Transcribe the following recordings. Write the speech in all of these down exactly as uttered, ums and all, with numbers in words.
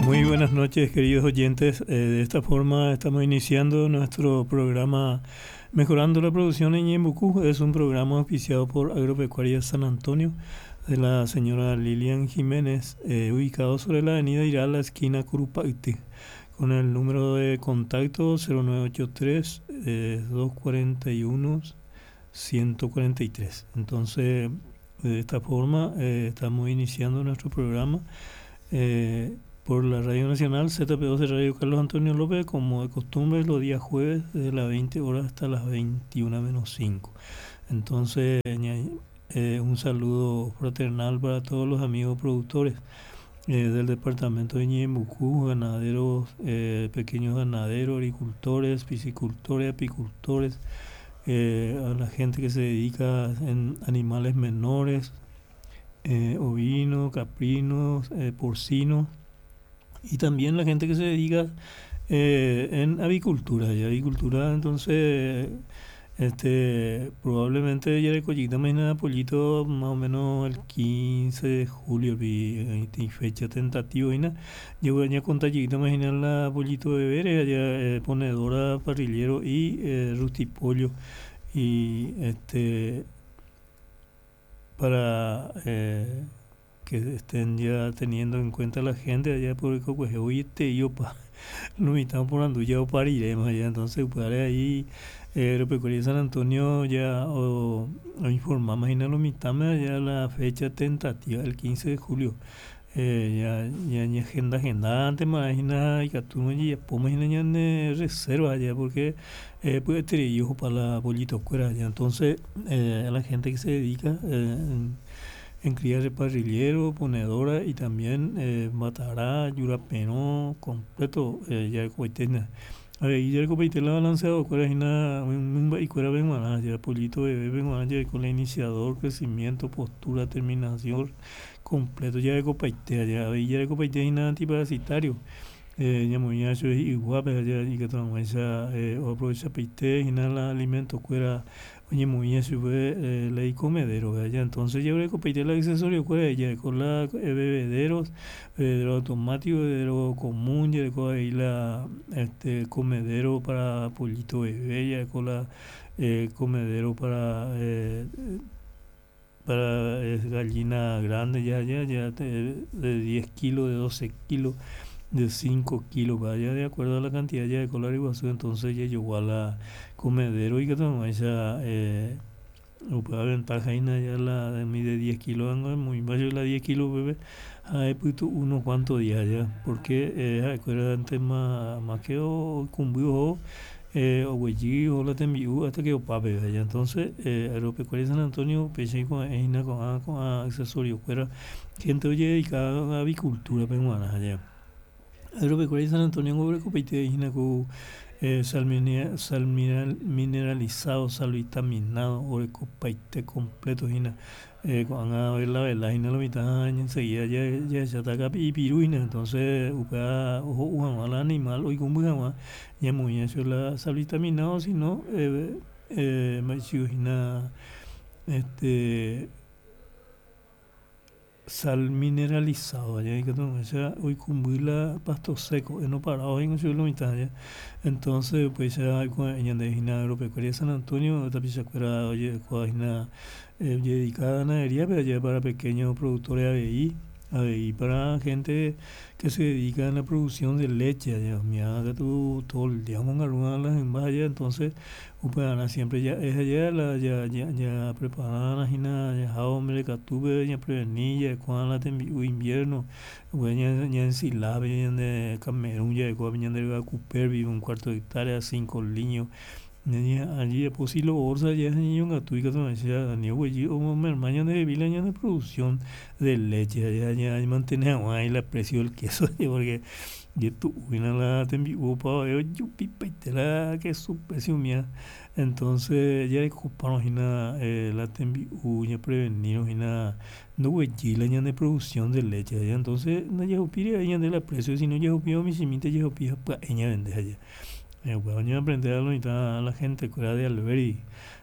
Muy buenas noches, queridos oyentes. Eh, de esta forma estamos iniciando nuestro programa Mejorando la Producción en Ñeembucú. Es un programa auspiciado por Agropecuaria San Antonio de la señora Lilian Jiménez, eh, ubicado sobre la avenida Irala, esquina Curupayty, con el número de contacto cero nueve ocho tres, eh, dos cuarenta y uno, ciento cuarenta y tres. Entonces, de esta forma, eh, estamos iniciando nuestro programa, eh, por la Radio Nacional Z P dos de Radio Carlos Antonio López, como de costumbre, los días jueves desde las veinte horas hasta las veintiuna menos cinco. Entonces, eh, un saludo fraternal para todos los amigos productores, eh, del departamento de Ñeembucú, ganaderos, eh, pequeños ganaderos, agricultores, piscicultores, apicultores, eh, a la gente que se dedica en animales menores, eh, ovinos, caprinos, eh, porcinos, y también la gente que se dedica, eh, en avicultura. Y avicultura, entonces, este, probablemente ya recollita mañana pollito más o menos el quince de julio, vi, y fecha tentativa, y nada. Yo voy a contar chiquita mañana la pollito de bebé, allá, eh, ponedora, parrillero y, eh, rustipollo, y este, para, eh, que estén ya teniendo en cuenta la gente allá por el Cocuejeo, oye, te yo pa, lo mitad por Anduya o pariremos allá, entonces pues ahí, eh, Agropecuaria San Antonio ya o, o informamos, imagina lo mitad ya la fecha tentativa, el quince de julio, eh, ya, ya ni agenda, agenda antes, imagina, y que tú no ya podemos imaginar ya en reserva allá, porque, eh, puede tener hijos para la pollito cuera allá, entonces, eh, a la gente que se dedica, eh, en, en cría de parrillero, ponedora y también, eh, matará, yurapenó, completo, eh, ya coitena. A ver, y ya el copaite la balanceado, cuál es una, un, un, y cuál es la ya pollito bebé, ven, ya con el iniciador, crecimiento, postura, terminación, completo, ya de copaite, ya, y ya el copaite es nada antiparasitario. Eh, ya muy eso es igual, pero ya, y que toma esa, eh, o aprovecha peite, y nada, la alimento, cuera, oye, muy eso fue, eh, ley comedero, ¿verdad? Ya, entonces ya el copaite el accesorio, cuera, ya con la, eh, bebederos, bebedero automático, bebedero común, ya con ahí la, este, comedero para pollito bebé, ya con la, eh, comedero para, eh, para, eh, gallina grande, ya, ya, ya, de, de diez kilos, de doce kilos, de cinco kilos, vaya, de acuerdo a la cantidad ya de color y guasú, entonces ya llegó a la comedero y que toma esa, eh, o puede ventaja y nada, ya la de mide diez kilos, ando muy bajo la diez kilos, bebé, ahí pues tú unos cuantos días ya, porque, eh, acuérdate más, más que o cumbió, eh, o güey, o la tembiú, hasta que o pape, ya, entonces, eh, Agropecuaria San Antonio, peche con eina, con a, con a, accesorio, fuera, gente oye dedicada a avicultura peruana, allá. Agropecuaria San Antonio, gobre copeite, eina, con, eh, sal minera, sal mineral, mineralizado, sal vitaminado, o copaite completo, eina, eh, con a ver la vela, eina, la mitad, enseguida ya, ya, ya está acá, y piruina, entonces, upa, ojo, uja, al animal, oigo, un bujama, ya muy eso la sal vitaminado, si no, eh, eh, machiu, este, sal mineralizado, allá hay que tomar, o sea, hoy cumbila pasto seco, no parado en su mitad, ya. Entonces, pues ya con ella de Gina Agropecuaria San Antonio, esta pichacuera, oye, cuajina, eh, dedicada a ganadería, pero ya para pequeños productores A B I, A B I para gente que se dedica a la producción de leche, allá, mira, que tú todo el día con alguna de las envases, entonces, upeana siempre ya es allá, la, ya, ya, ya preparada la gina, ya hombre, catuve, ya prevenir, ya cuando la tembi, invierno, bueno, ya, ya ensilave, ya de Camerún, ya de cuando ya de Cooper, vive un cuarto de hectárea, cinco líneas. Allí, allí, pues, si lo bolsa, ya es niño, un gato, y que te decía, Daniel, güey, yo, mi hermano de Vila, ya de producción de leche, ya, ya, ya mantiene agua y la precio del queso, ya, porque yo tuve una la tembi, upa, yo, yo, pipa, y te la, que su precio mía. Entonces, ya ocuparon, y nada, eh, la tembi, u, ya prevenir, y nada, no, güey, y la ya de producción de leche, ya, entonces, no, ya, upire, ya de la precio, si no, ya, upire, mi siminte, ya, upire, pa, ella vende allá. Upéva aprende lo mitã la gente kuéra de Alberdi.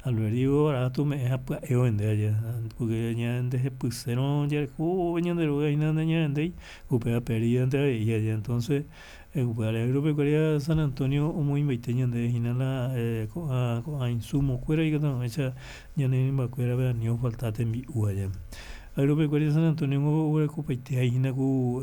Alberdi barato ome'ẽ ha pya'e ovende aja porque ñandehepysérõ jareko ñande róga hína nañavendéi upéva pérdidante avei aja entonces upévare agropecuaria San Antonio omoĩmbaite ñandéve hína la ko'ã ko'ã insumo kuéra ikatu hag̃uáicha ñane rymbakuérape ani ofalta tembi'u aja. Agropecuaria San Antonio oguerekopaite ku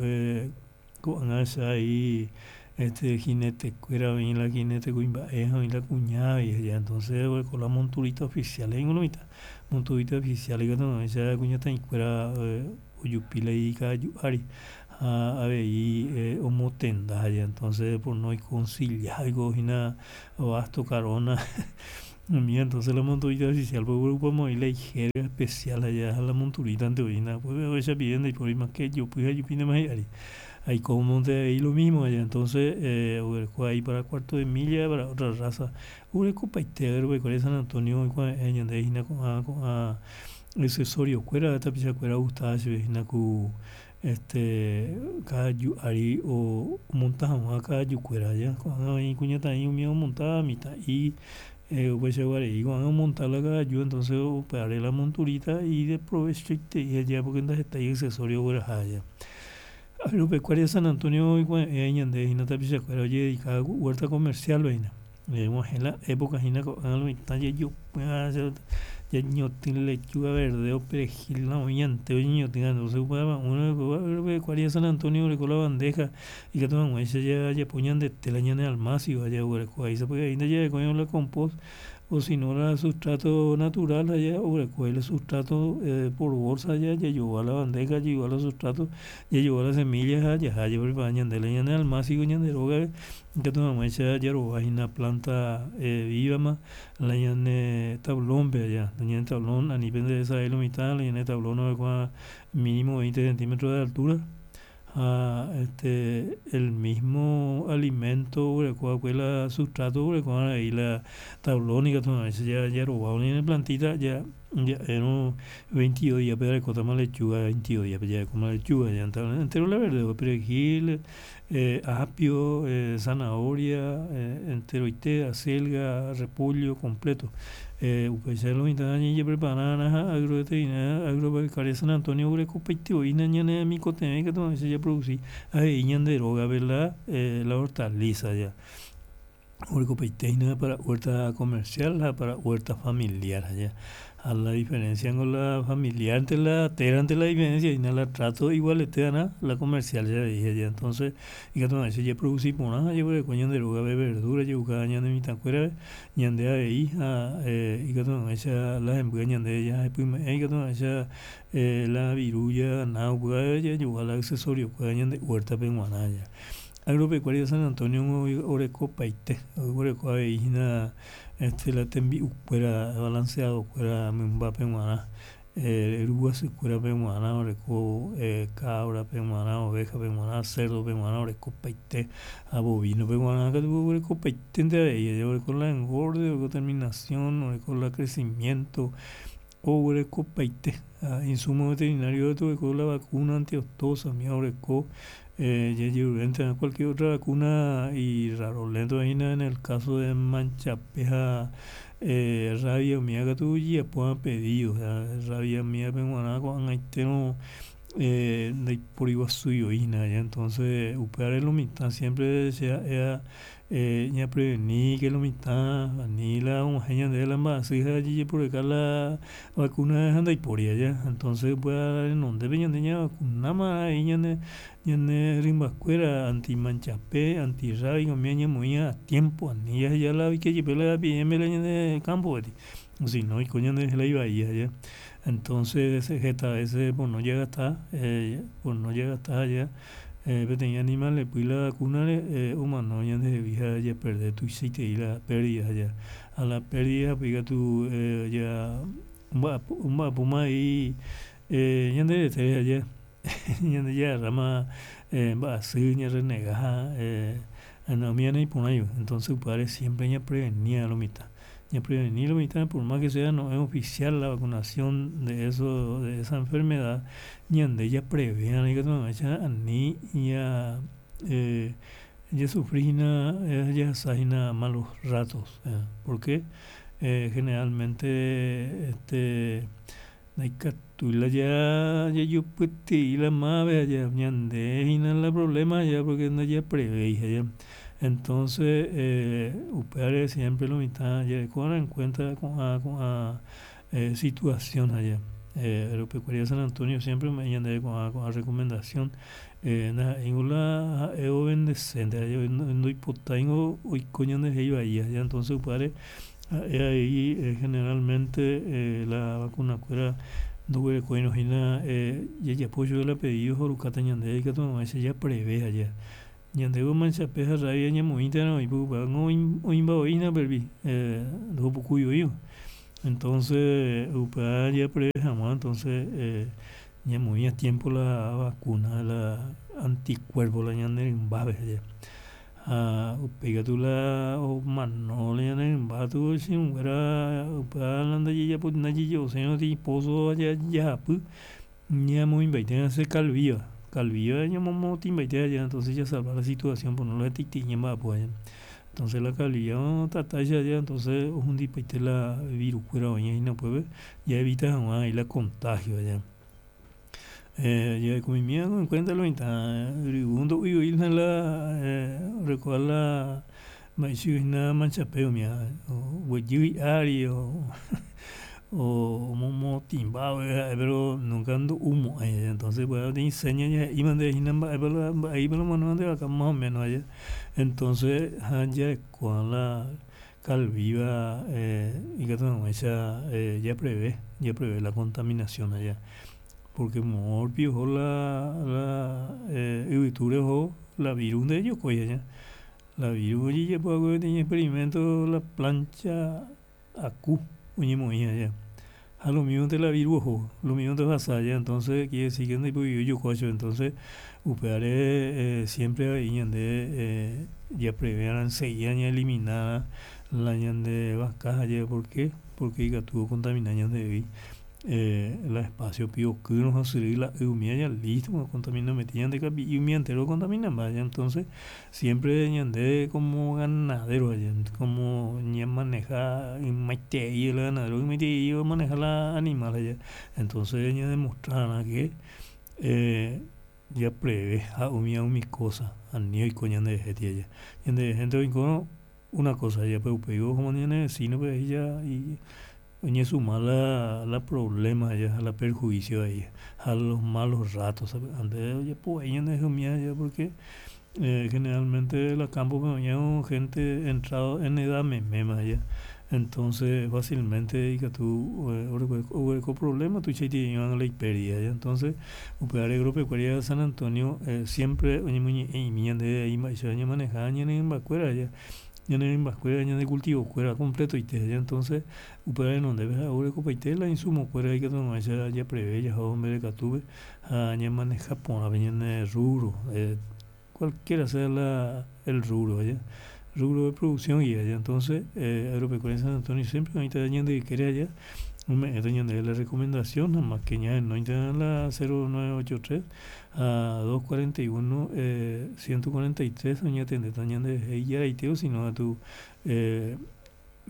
ko'ág̃a che este jinete kuéra oĩ la jinete kuimba'e ha oĩ la kuña avei entonces oguereko la monturita oficial he'íngo lo mitã monturita oficial ikatu hag̃uáicha kuñataĩkuéra ojupi la ikavaju ári ha avei omotenda aja entonces pono oiko ensilla oikohína basto carona umi entonces la monturita oficial oguerupa la ijerga especial aja ha la monturitante oĩhína ohechapive ndaipóri mas que ejopy ha ejupíntema hi'ári aikómonte avei lo mismo aja entonces oguereko aí para cuarto de milla para otra raza oguerekopaite agropecuaria San Antonio oikuave'ẽ ñandéve hína ko'ã ko'ã accesorio kuéra tapichakuéra ogustava chupe hína ku este kavaju ári omonta hag̃ua kavajukuéra aja ko'ág̃a oĩ kuñataĩ umi omontáva mitã'i upeichaguarei ko'ág̃a omonta la kavaju entonces upévare la monturita ideprovechoiterei aja porque ndahetái accesorio ogueraha aja. Agropecuaria San Antonio oikuave'ẽ ñandéve hína tapichakuéra ojededicaba huerta comercial-pe hína og̃uahẽ la época hína ko'ág̃a lo mitã jajopy'a ñañotỹ lechuga verdeo perejil oĩante oñeñotỹva entonces upéva agropecuaria San Antonio oreko la bandeja ikatu hag̃uáicha jajapo ñandete la ñane almácigo jaguereko vai sapy'ai ndajarekóirõ la compost o sino la sustrato natural aja oguereko la sustrato por bolsa jajogua la bandeja jajogua la sustrato jajogua la semilla ha jaha japrepara ñande la ñane almácigo ñande rógape ikatu hag̃uáicha jarovahína planta viva-ma la ñane tablón-pe aja la ñane tablón ani penderesarái lo mitã la ñane tablón orekóva mínimo veinte centímetros de altura ha este el mismo alimento oguerekova'ekue la sustrato oguereko avei la tablón ikatu hag̃uáicha jarova ñane plantita ja ja'érõ veintidós días-pe jarekótama lechuga veintidós días-pe jarekóma lechuga entero la verdeo perejil apio zanahoria enteroite acelga repollo completo upéicha lo mitã jajeprepararã ha agroveterinaria agropecuaria San Antonio oguerekopaite voi ñane remikotevẽ ikatu hag̃uáicha japroduci avei ñande rógape la la hortaliza ya oguerekopaite hína para huerta comercial ha para huerta familiar ya ha la diferencia ngo la familiar-nte la térante la diferencia hína la trato igualete'arã la comercial avei aja entonces ikatu hag̃uáicha japroduci porã ha jaguereko ñande rógape verdura ja'uka ñane mitãkuérape ñande avei ha ikatu hag̃uáicha la hemby ñande jahepyme'ẽ ikatu hag̃uáicha la viru jagana upéva jajogua la accesorio kuéra ñande huertape g̃uarã aja. Agropecuaria San Antonio orekopaite oguereko avei hína este la tembi'ukuéra balanceado kuéra mymbápe g̃uarã ryguasykuérape g̃uarã oreko cabra-pe g̃uarã oveja-pe g̃uarã cerdo-pe g̃uarã orekopaite ha bovino-pe g̃uarã katu oguerekopaitente avei oreko la engorde oreko terminación oreko la crecimiento oguerekopaite ha insumo veterinario oreko la vacuna antiaftosa oreko jajerurénte cualquier otra vacuna y rarolento hína en el caso de manchape ha rabia umíva katu ojejapo pedido rabia umívape g̃uarã ko'ag̃aitérõ ndaipóri guasúi oĩhína entonces upévare lo mitã siempre che ha'éva ñapreveníke lo mitã ani la og̃uahẽ ñandéve la mba'asy ha jajeporeka la vacuna ha ndaipóri aja entonces upéva renondépe ñande ñavacunáma avei ñane ñane rymbakuéra antimanchape antirrábico umi ñamoĩ a tiempo ani jaheja la oikejepe la epidemia la ñane campo-pe sino oiko ñanderehe la ivai aja entonces heta veces pono jagasta pono jagasta aja peteĩ animal repy la vacuna-re omano ñandehegui ha japerde tuichaiterei la pérdida aja ha la pérdida katu ya omba'apo omba'apóma avei ñande retére aja ñande jagarráma mba'asy ñarrenega ha umíva naiporãi entonces upévare siempre ñapreveni lo mitã ñapreveni lo mitã por más que sea no es oficial la vacunación de eso de esa enfermedad ñande japreve'arã ikatu hag̃uáicha ani ña Jasufrihína jahasahína malos ratos, porque generalmente este ndaikatúi la jajupyty'i la máva ñande hína la problema porque ndajaprevéi entonces upévare siempre lo mitã jarekova'erã en cuenta ko'ã ko'ã situación aja Agropecuaria San Antonio siempre ome'ẽ ñandéve ko'ã ko'ã recomendación ndaha'éingo la ha'e ovendesénte ndoipotáingo oiko ñanderehe ivaíva entonces upévare ha'e avei generalmente la vacunakuéra ndoguerekóirõ hína jajapo chupe la pedido ha orukáta ñandéve ikatu hag̃uáicha japreve aja ñandéve manchape ha rabia ñamoĩnterõ upévango oĩmbavoíhina upérupi ndohupukúivoíva entonces upéva japreve hag̃ua entonces ñamoĩ a tiempo la vacuna la anticuerpo la ñane rymbápe ha upéikatu la omano la ñane rymba katu che irũnguéra upéva la ndajajaposéirõ peteĩ pozo jahapy ñamoĩmbaite calviva, calviva ñamomorotĩmbaite entonces jasalva la situación pono la hetaiterei ñamba'apo entonces la calviva tatáicha entonces ohundipaite la virukuéra oĩva upépe jaevita hag̃ua la contagio. Jarekomimi en cuenta lo mitã yryvu ndo'uivoína la orekóva la mba'eichahína manchape umíva oguejy hi'ári o omomorotĩmba ha'e pero nunca ndo'umo'ãi entonces upéva peteĩ seña ja'ímante hína mba'épa la mba'épa la omanóva nde vaka más o menos aje entonces ha jarekóva la calviva ikatu hag̃uáicha japreve japreve la contaminación porque moõrupi oho la la yvytúre oho la virus ndaijokói la virus ojejapo peteĩ experimento la plancha aku oñemoĩ aja ha lo mismonte la virus oho lo mismonte ohasa entonces quiere decir que ndaiporive ojokóva chupe entonces upévare siempre avei ñande japreve'arã enseguida ñaelimina la ñande vaka porque porque ikatu ocontamina ñandehegui la espacio okýrõ ha osyry la y umíva ya listo ocontaminambaite ñande kapi'i umía entero ocontaminamba entonces siempre ñande como ganadero como ñamaneja ymaiterei la ganadero ymaiterei omaneja la animal entonces ñademostrarã que japreve ha umíva umi cosa ani oiko ñanderehe ñanderehénte oikórõ una cosa upéi ohóma ñane vecino-pe ja oñesuma la la problema ha la perjuicio ha los malos ratos sapy'ánte ojapovai ñanderehe umíva porque generalmente la campo-pe oĩ gente entrado en edad meméma entonces fácilmente ikatu oguereko problema tuichaitereíva la iperdida entonces upévare Agropecuaria San Antonio siempre oñemoñe'ẽ'imi ñandéve mba'éichapa ñamaneja ñane rymbakuéra ñane rymbakuéra ñande cultivokuéra completoite entonces upéva renondépe oguerekopaite la insumokuéra ikatu hag̃uáicha japreve jahávo mbeguekatúpe ha ñamaneja porã ñane rubro cualquiera sea la el rubro rubro de producción entonces Agropecuaria San Antonio siempre oĩta ñande ykére aja ome'ẽta ñandéve la recomendación ha que ñahenóita la cero nueve ocho tres ha dos cuarenta y uno ciento cuarenta y tres oñatendéta ñanderehe ijaraite osino katu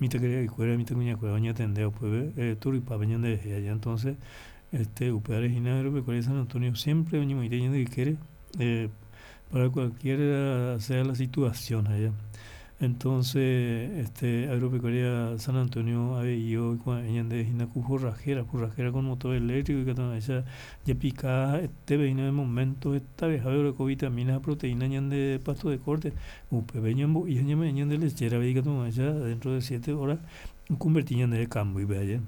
mitãkaria'ykuéra mitãkuñakuéra oñatende upépe torypápe ñanderehe entonces este upévare hína Agropecuaria San Antonio siempre oñemoĩta ñande ykére para cualquiera sea la situación entonces este Agropecuaria San Antonio avei oikuave'ẽ ñandéve hína ku forrajera, forrajera con motor eléctrico ikatu hag̃uáicha japika ha'etépe hína de momento hetavehápe oreko vitamina ha proteína ñande pasto de corte upépe ñambo'i ha ñame'ẽ ñande lechera-pe ikatu hag̃uáicha dentro de siete horas oconverti ñandéve kambýpe aje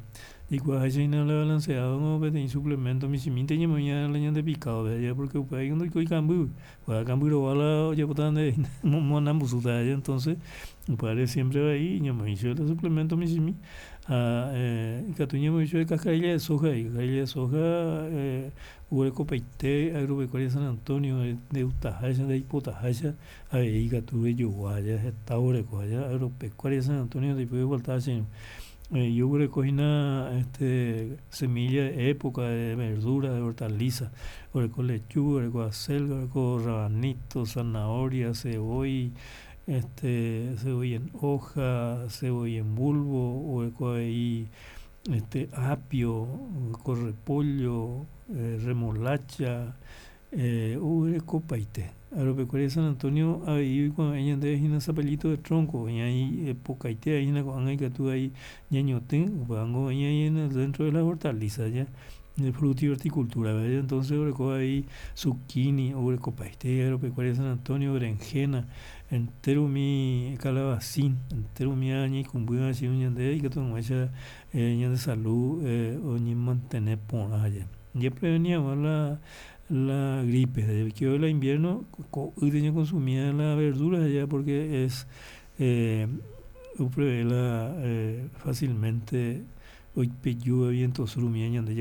jaikuaaháicha hína la balanceado peteĩ suplemento michĩmínte ñamoĩ la ñande picado-pe porque upéva ndoikói kambýgui upéva kamby rova la ojapóta ñandéve omoanambusúta entonces upévare siempre avei ñamoĩ chupe la suplemento michĩmi ha ikatu ñamoĩ chupe cascarilla de soja cascarilla de soja oguerekopaite Agropecuaria San Antonio ndegustaháicha ndeipotaháicha avei ikatu rejogua heta oguereko Agropecuaria San Antonio ndaipóri ofaltava che irũ Yo hína este semilla de época de verdura, de hortaliza, oreko lechuga, oreko acelga, oreko rabanito, zanahoria, sevói, este cebolla en hoja, cebolla en bulbo, oreko avei este apio, oreko repollo, remolacha, oguerekopaite aropekuéri San Antonio avei oikuave'ẽ ñandéve hína zapallito de tronco oĩ pokaite oĩhína ko'ág̃a ikatu avei ñañotỹ upévango oĩ dentro de las hortalizas ja frutihorticultura entonces oreko avei zucchini oguerekopaite aropekuéri San Antonio berenjena entero umi calabacin entero umíva ñaikũmbýva che irũ ñande ikatu hag̃uáicha ñande salud oñemantene porã japreveni hag̃ua la la gripe la invierno ko'ýte ñaconsumi la verdura porque es oprevé la fácilmente oipeju viento sur umi ñande.